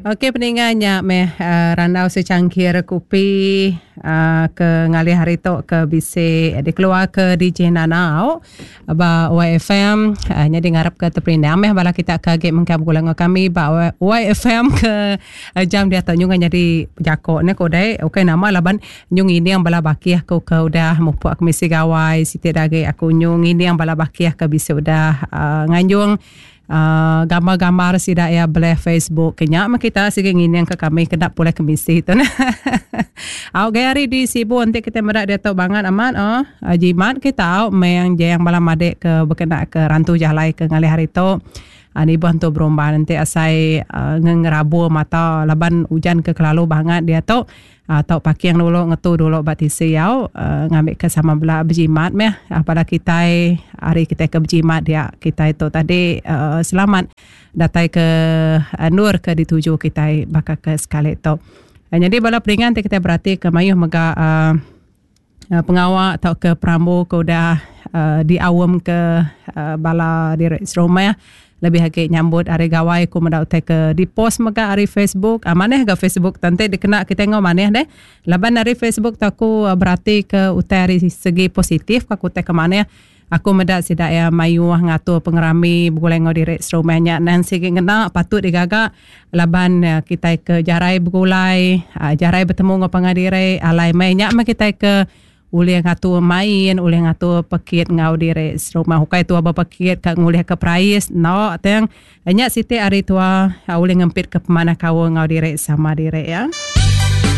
Okey peninga nya meh randau secangkir kupi ke ngalih hari tu ke bisi dikeluar ke DJ Nana au ba YFM nyadi ngarap ke teperindang meh bala kita ke agi mengkang begulai enggau kami ba YFM ke jam diatu nyungah nyadi jako ne ku dei ukai nama laban nyu ngining bala bakih ku ke udah mupuk ke misi gawai siti da agi aku nyu ngining bala bakih ke bisi udah nganjung uhh gambar-gambar sida iya beleh Facebook ke nya meh kita sigi ngining ke kami kena pulai kemisi tu neh. Au gaya hari di Sibu enti kita meda diatu bangat amat oh jimat kita au meng jeng bala madik ke bekena ke rantu jalai ke ngalih hari tu uhh nibuh entu berumban enti asai uhh ngerabur mata laban ujan ke kelalu bangat diatu. Tau parking dulu ngetu dulu ba tisi au ngambika sama bela bejimat meh bala kitai ari kitai ke bejimat dia kitai tu tadi selamat datai ke endur ke dituju kitai baka ke sekali tu. Nyadi bala peringan ti kitai beratika mayuh mega uhh pengawa tauka perambu ke udah uhh diaum ke uhh bala diri serumah lebih agi nyambut hari gawai ku meda utai ke di post mega ari Facebook uhh manah ga Facebook tu enti dikena kitai enggau manah deh laban ari Facebook tu aku berati ke utai ari segi positif ka ku utai ke manah. Aku meda sida iya mayuh ngatur pengerami begulai enggau diri serumah nya nan sigi ngena patut digaga laban kitai ke jarai begulai jarai betemu enggau pangan diri alai meh nya meh kitai ke ulih ngatur main ulih ngatur pekit enggau diri serumah ukai tua bepekit ka ngulih ke perais enda tang nya siti ari tua ulih ngempit ke pemanah kaul enggau diri sama diri iya.